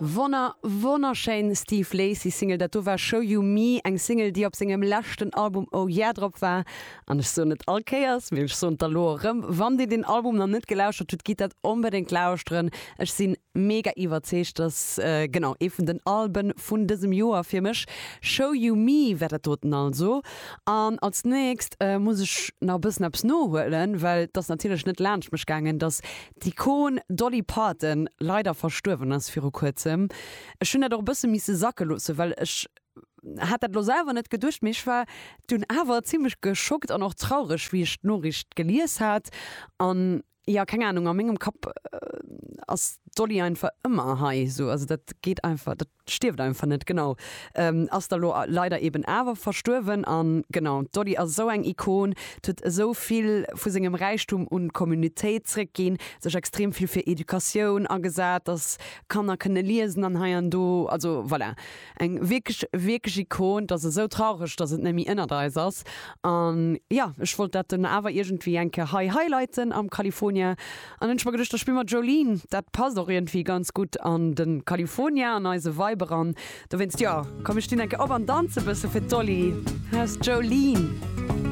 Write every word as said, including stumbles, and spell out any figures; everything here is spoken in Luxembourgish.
Wonner wonnerschéin Steve Lacy Single, dat do war Show You Me, eng Single déi op sengem leschten Album Oh Yeah drop war. An ech soen et all Kéiers, mee ech soen et da lo erëm, wann dir den Album nach net gelauschtert hutt, gitt dat onbedéngt lauschteren. Ech sinn mega iwwerzeegt, dass genau ee vun den Alben vun dësem Joer fir mech. Show You Me war dat doten also. An als nächst muss ech nach e bëssen eppes nohuelen, well et ass natierlech net laanscht mech gaangen, dass d'Ikon Dolly Parton leider verstuerwen ass viru kuerzem. Ech hunn dat och e bësse misse sacke loosse, well ech hat dat elo selwer net geduecht, mee ech war dunn awer zimmlech geschockt an och traureg, wéi ech d'Noriicht gelies hat. An jo, keng Anung, a mengem Kapp ass d'Dolly einfach ëmmer hei esou, also dat geet einfach, dat stierft einfach net, genau. Ass da lo leider eben awer verstuerwen an genau, d'Dolly ass esou eng Ikon, huet esou vill vu sengem Räichtum un d'Communitéit zréckginn, sech extrem vill fir Educatioun agesat, dass Kanner kënne liesen an hei an do, also voilà, eng wierklech, wierklech Ikon. Et ass esou traureg, dass et net méi ënnert eis ass an jo, ech wollt dat dunn awer iergendwéi eng Kéier hei highlighten am California an hunn ech mer geduecht, da spille mer Jolene, dat passt och iergendwéi ganz gutt an de California, an eise Vibe eran. Dowéinst, jo, komm mir stinn eng Kéier op an danze bësse fir d'Dolly. Hei ass d'Jolene.